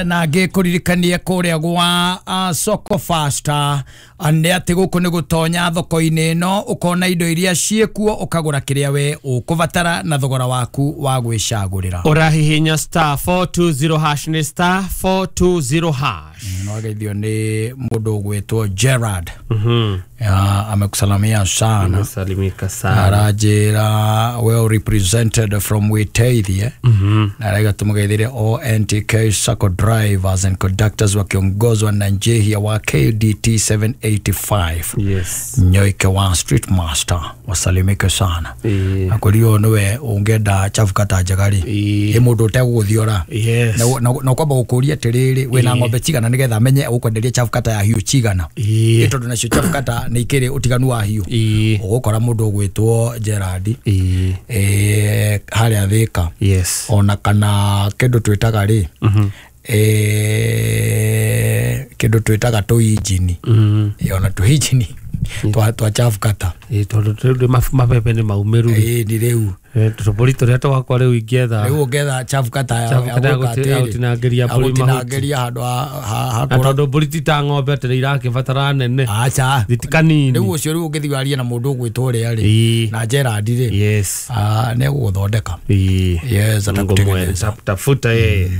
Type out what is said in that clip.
Na ngĩkũririkanie kũrĩa gwa Soko Fasta nĩ atĩ gũkũ nĩ gũtonya thoko-inĩ ĩno, ũkona indo iria ciĩkuo, ũkagũra kĩrĩa we ũkũbatara na thogora waku wa gwĩcagũrĩra. Ũrahihinya *420#, nĩ *420#. Nwageithio nĩ mũndũ ũgwĩtwo Gerard. Amekusalamia sana. Salimika sana. Aranjĩra well represented from Witeithie, na araiga tũmũgeithĩre all NTK Sacco drivers and conductors wakiongozwa na Njehia wa KDT 785. Nyoike wa Street Master wasalimike sana. Akorio niwe ũngĩenda chafu kata njega rĩ, ĩ mũndũ ũtegũgũthiora na ũkwamba gũkũria atĩrĩrĩ, wĩna ng'ombe cigana, nĩgetha amenye ũkwenderia chafu kata ya hiũ cigana. Ĩ tondũ nacio chafu kata nĩ ikĩrĩ ũtiganu wa hiũ. Ũgũkora mũndũ ũgwĩtwo Gerard harĩa Thĩka, ona kana kĩndũ twĩtaga rĩ, kĩndũ twĩtaga tũinjini. Ona tũinjini twa chafu kata. Tondũ rĩu mabebe nĩ maumĩru rĩ. Ĩ nĩ rĩu. Tũbũri tũrĩa twakwa rĩu ingĩetha. Rĩu ũngĩetha chafu kata ya Chafu kata ya ya gwĩka ya atĩrĩ, gũtinangĩria ya mbũri mahuti. gũtinangĩria handũ Na tondũ mbũri ti ta ng'ombe atĩ nĩ irakĩbatara nene. Aca. Ti kanini. Rĩu ũcio rĩu ũngĩthiĩ warie na mũndũ ũgwĩtwo ũrĩa rĩ, na Gerard rĩ, nĩ egũgũthondeka. Yes, atakutengeneza. Tafuta yeye.